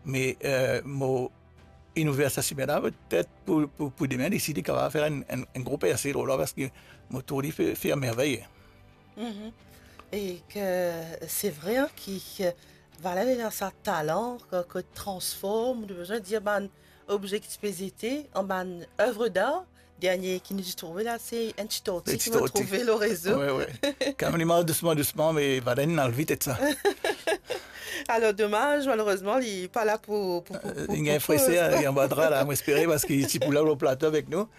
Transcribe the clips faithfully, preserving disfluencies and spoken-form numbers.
Me, eh, mo inn ouver sa simin la, petet pou, pou, pou demin, isi, li kapav fer enn, enn, enn gro perse lor la, parski mo trouv li fer, fer mervey. Mhm. E ke se vre, hein, ki, ki, Valène ena sa talan ki, ki transform, nou bizin dir, bann obze ki ti pe zete an bann œuvre d'art. Dernie ki nou ti trouve la, se enn ti torti ki mo trouve lor rezo. Wi, wi. Kanmem li mars dousman, dousman, me Valène inn al vit ek sa. Alor, domaz, malerezman, li pa la pou, pou, pou, eh, pou, li gagn pou frese, koz. Li anba dra la, mo espere, parski li ti pou la lor plato avek nou.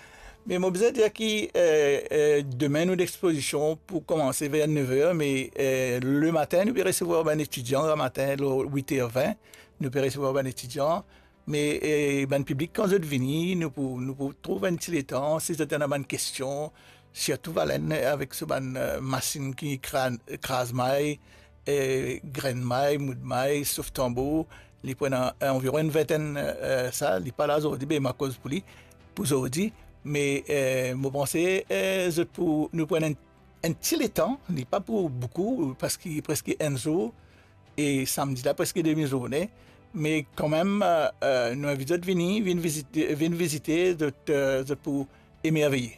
Me mo bizin dir ki, eh, eh, demin nou lexpozision pou koumanse ver nef er, me, eh, lematin, nou pe resevwar bann etidian, lematin, lor wit er vin, nou pe resevwar bann etidian. Me, eh, bann piblik, kan zot vini, nou pou, nou pou trouv enn ti letan, si zot ena bann kestion, sirtou Valène avek so bann, eh, masinn ki kra-, kraz may, eh, grenn may, moud may, sof tanbour, li pran, eh, anviron enn vintenn, eh, sa, li pa la zordi, be mo koz pou li, pou zordi, me, eh, mo panse, eh, zot pou, nou pran enn, enn ti letan, li pa pou boukou, parski preske enn zour, e samdi la preske demi zourne, me kanmem, eh, eh, nou invit zot vini, vinn vizite, vinn vizite, zot, eh, zot pou emerveye.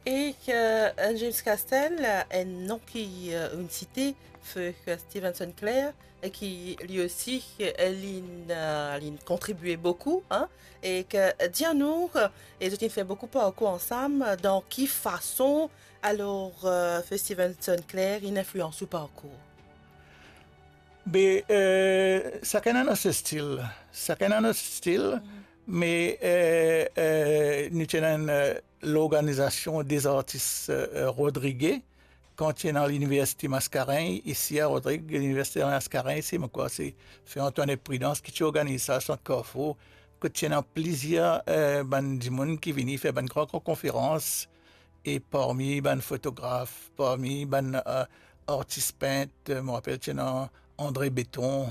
E, eh, James Castel, enn non ki, eh, inn site, se, eh, Stevenson Clare, e ki li osi, eh, linn, eh, linn kontribie boukou, hein, e ke, eh, dir nou, eh, e zot inn fer boukou parkour ansam, dan ki fason, alor, eh, se Stevenson Clare inn inflians ou parkour? Be, eh, sakenn ena so stil. Sakenn ena so stil, mhm, me, eh, eh, nou ti ena enn, eh, lorganizasion de zartis, eh, eh, rodrige, kan ti ena Liniversite Mascarenhas, isi a Rodrig, Liniversite Mascarenhas, se, mo krwar, se Feu Antoinette Prudence ki ti organiz sa, Sant Carrefour, kot ti ena plizier, eh, bann dimoun ki vini fer bann gran, gran konferans, e parmi bann fotograf, parmi bann, eh, artis pint, eh, mo rapel ti ena André Béton,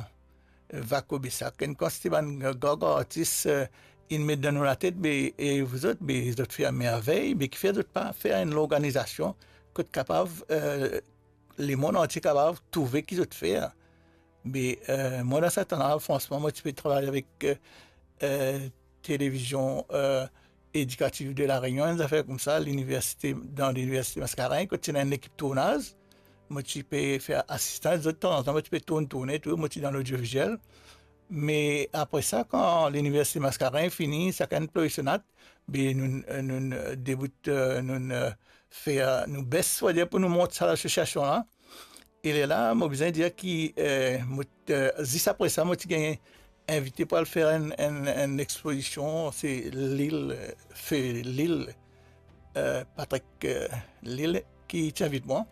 eh, Vako Bessak, enn kantite bann gran, gran artis, eh, inn met dan nou latet, be, e zot, be, zot fer mervey, be, kifer zot pa fer enn lorganizasion kot kapav, eh, lemonn antie kapav trouve ki zot fer. Me, eh, mwa, dan sa tan la, fransman, mo ti pe travay avek, eh, eh, Télévision, eh, Éducative de La Réunion, enn zafer koumsa, liniversite, dan Liniversite Mascarenhas, kot ti ena enn lekip tournaz. Mo ti pe fer asistan zot, tanzantan, mo ti pe tourn, tourne tou, mo ti dan lodioviziel. Me apre sa, kan Liniversite Mascarenhas fini, sakenn ploy so nat, be nou, nou debout, eh, nou, eh, fer, nou bes, swadir pou nou mont sa lasosiasion la. E lerla, mo bizin dir ki, eh, mo, eh, zis apre sa, mo ti gagn invite pou al fer enn, enn, enn expozision, se Lil, eh, se Lil, eh, Patrick, eh, Lil ki ti invit mwa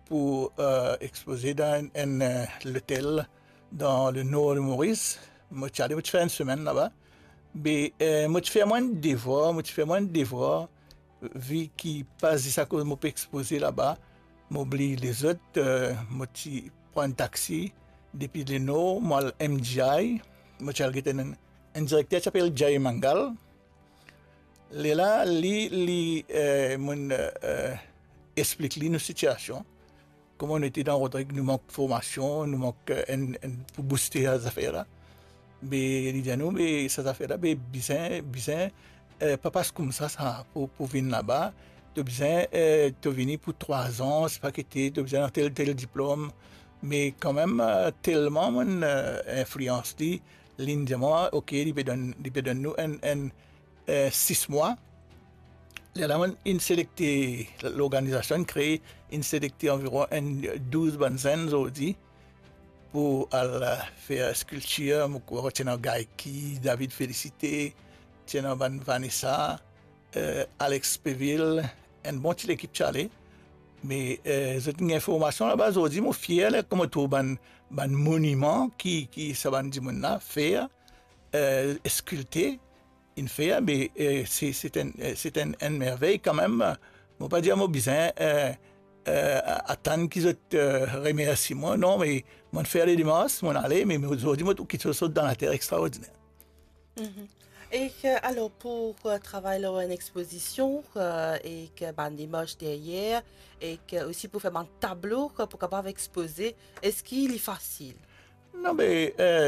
pou, eh, expoze dan enn, enn, eh, lotel dan le nor de Moris. Mo ti ale, mo ti fer enn semenn laba. Be, eh, mo ti fer mwa enn devwar, mo ti fer mwa enn devwar, vi ki pa zis akoz mo pe expoze laba, mo bliy lezot, eh, mo ti pran enn taxi depi le nor, mo al M G I, mo ti al get enn, enn direkter ti apel Jay Mangal. Lerla, li, li, eh, mo'nn, eh, explik li nou sitiasion. Kouma nou ete dan Rodrig, nou mank formasion, nou mank, eh, enn, enn pou bouste sa zafer la. Be, li dir nou, be, sa zafer la, be, bizin, bizin, eh, pa pas koumsa sa, pou, pou vinn laba. To bizin, eh, to vini pou trwa zan, sipa ki te, to bizin ena tel, tel diplom. Me kanmem, eh, telman mo'nn, eh, inflians li, li'nn dir mwa, ok, li pe donn, li pe donn nou enn, enn, eh, sis mwa. Lerla mo'nn selekte, lorganizasion inn kree, inn selekte anviron enn douz bann zenn zordi pou al, eh, fer skiltir. Mo krwar ti ena Gaiki, David Félicité, ti ena bann Vanessa, eh, Alex Peville, enn bon ti lekip ti ale. Me, eh, zot inn gagn formasion laba. Zordi mo fier, ler mo trouv bann, bann moniman ki, ki sa bann dimoun la fer, eh, eskilte, inn fer, be, eh, se, se enn, eh, se enn, enn mervey kanmem. Mo pa dir mo bizin, eh, eh, atann ki zot, eh, remersi mwa, non, me mo'nn fer le demars, mo'nn ale, me, me zordi mo trouv kiksoz sot dan later extraordiner. Mhm. E ke, alor, pou, eh, travay lor enn expozision, eh, e ke bann imaz deryer, e ke osi pou fer bann tablo, eh, pou kapav expoze, eski li fasil? Non, be, eh,